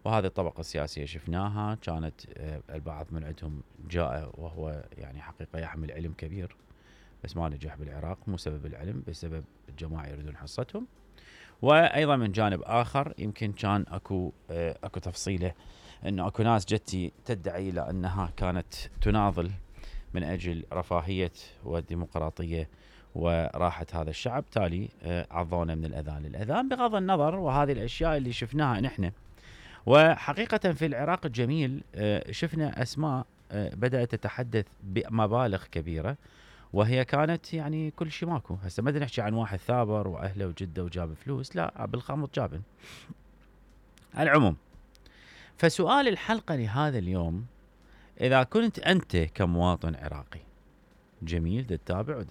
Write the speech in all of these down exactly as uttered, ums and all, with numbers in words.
وهذه الطبقة السياسية شفناها كانت البعض من عندهم جاء وهو يعني حقيقة يحمل علم كبير، بس ما نجح بالعراق، مو سبب العلم، بسبب الجماعة يريدون حصتهم. وايضا من جانب اخر يمكن كان اكو اكو تفصيله انه اكو ناس جتي تدعي الى انها كانت تناضل من اجل رفاهيه والديمقراطيه وراحه هذا الشعب، تالي عضونا من الاذان للاذان بغض النظر. وهذه الاشياء اللي شفناها نحن. وحقيقه في العراق الجميل شفنا اسماء بدات تتحدث بمبالغ كبيره، وهي كانت يعني كل شيء ماكو. هسه ما نحكي عن واحد ثابر واهله وجده وجاب فلوس، لا، بالخمط جابن. العموم، فسؤال الحلقه لهذا اليوم، اذا كنت انت كمواطن عراقي جميل تتابع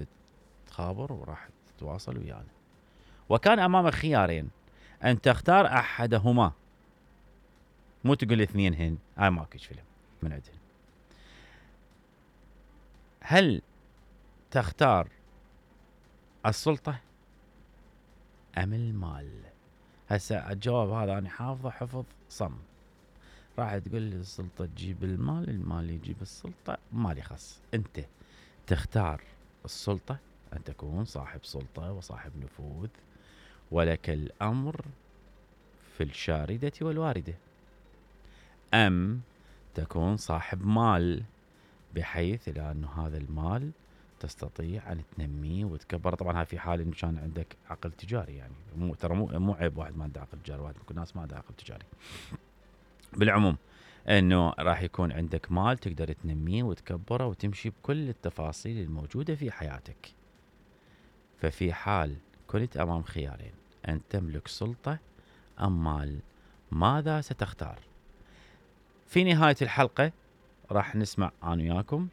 وتخابر وراح تتواصل ويانا، وكان امامك خيارين ان تختار احدهما، مو تقول اثنين هن، هاي ماكو فيلم من عندهن، هل تختار السلطة أم المال؟ هسه الجواب هذا أنا حافظه حفظ صم. راح تقول لي السلطة تجيب المال، المال يجيب السلطة، مالي خص. أنت تختار السلطة، أن تكون صاحب سلطة وصاحب نفوذ، ولك الأمر في الشاردة والواردة، أم تكون صاحب مال بحيث لأنه هذا المال تستطيع أن تنميه وتكبر. طبعا هاي في حال إن كان عندك عقل تجاري، يعني مو ترى مو مو عيب واحد ما عنده عقل تجاري، واحد ممكن ناس ما عنده عقل تجاري. بالعموم إنه راح يكون عندك مال تقدر تنميه وتكبره وتمشي بكل التفاصيل الموجودة في حياتك. ففي حال كنت أمام خيارين أن تملك سلطة أم مال، ماذا ستختار؟ في نهاية الحلقة راح نسمع أنا وياكم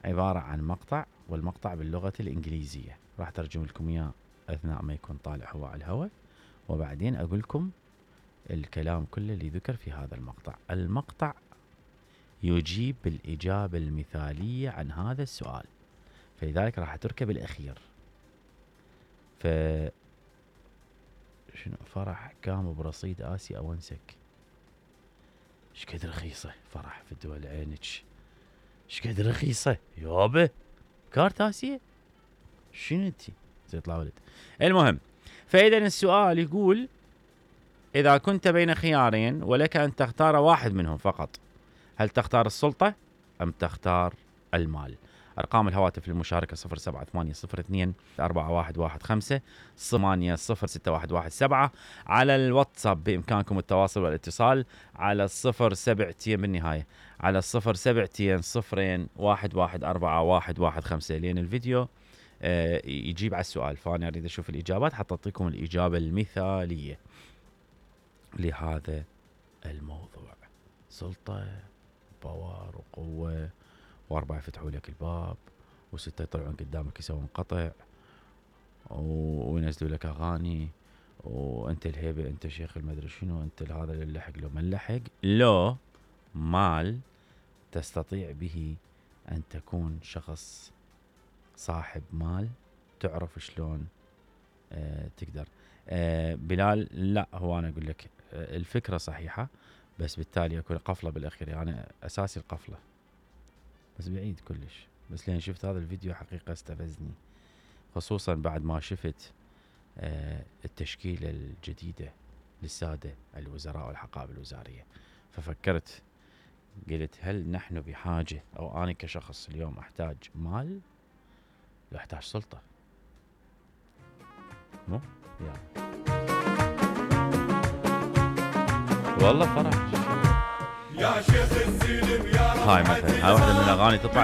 عبارة عن مقطع، والمقطع باللغة الإنجليزية، راح ترجم لكم إياه أثناء ما يكون طالع هو على الهواء، وبعدين أقول لكم الكلام كله اللي ذكر في هذا المقطع. المقطع يجيب بالإجابة المثالية عن هذا السؤال، فلذلك راح تركب الأخير. ف شنو فرح قام برصيد آسيا أونسك؟ ايش قد رخيصة فرح في الدول عينك، ايش قد رخيصة يابا كارت آسيا، شنو انتي تطلع ولد. المهم، فإذا السؤال يقول إذا كنت بين خيارين ولك أن تختار واحد منهم فقط، هل تختار السلطة أم تختار المال؟ أرقام الهواتف للمشاركة صفر سبعة ثمانية صفر اثنين أربعة واحد واحد خمسة ثمانية صفر ستة واحد واحد سبعة. على الواتساب بإمكانكم التواصل والاتصال على الصفر سبعتين بالنهاية، على الصفر سبعتين صفرين واحد واحد أربعة واحد واحد خمسة. لين الفيديو آه يجيب على السؤال، فأنا أريد أشوف الإجابات حتى أعطيكم الإجابة المثالية لهذا الموضوع. سلطة، باور وقوة، واربعة يفتحوا لك الباب، وستة يطلعون قدامك يسوون قطع، وينزلوا لك اغاني، وانت الهيبة، انت شيخ المدري شنو، انت هذا اللي لحق لو ما لحق. لو مال تستطيع به ان تكون شخص صاحب مال، تعرف شلون اه تقدر. اه بلال، لا هو انا اقول لك اه الفكرة صحيحة، بس بالتالي اكون قفلة بالاخير، يعني انا اساسي القفلة بس بعيد كلش. بس لين شفت هذا الفيديو حقيقة استفزني، خصوصا بعد ما شفت آه التشكيلة الجديدة للسادة الوزراء والحقائب الوزارية، ففكرت قلت هل نحن بحاجة، او انا كشخص اليوم احتاج مال، لا احتاج سلطة، مو يعني والله فرح يا شيخ السلم يا هاي مثلا، هاي واحدة من الاغاني تطلع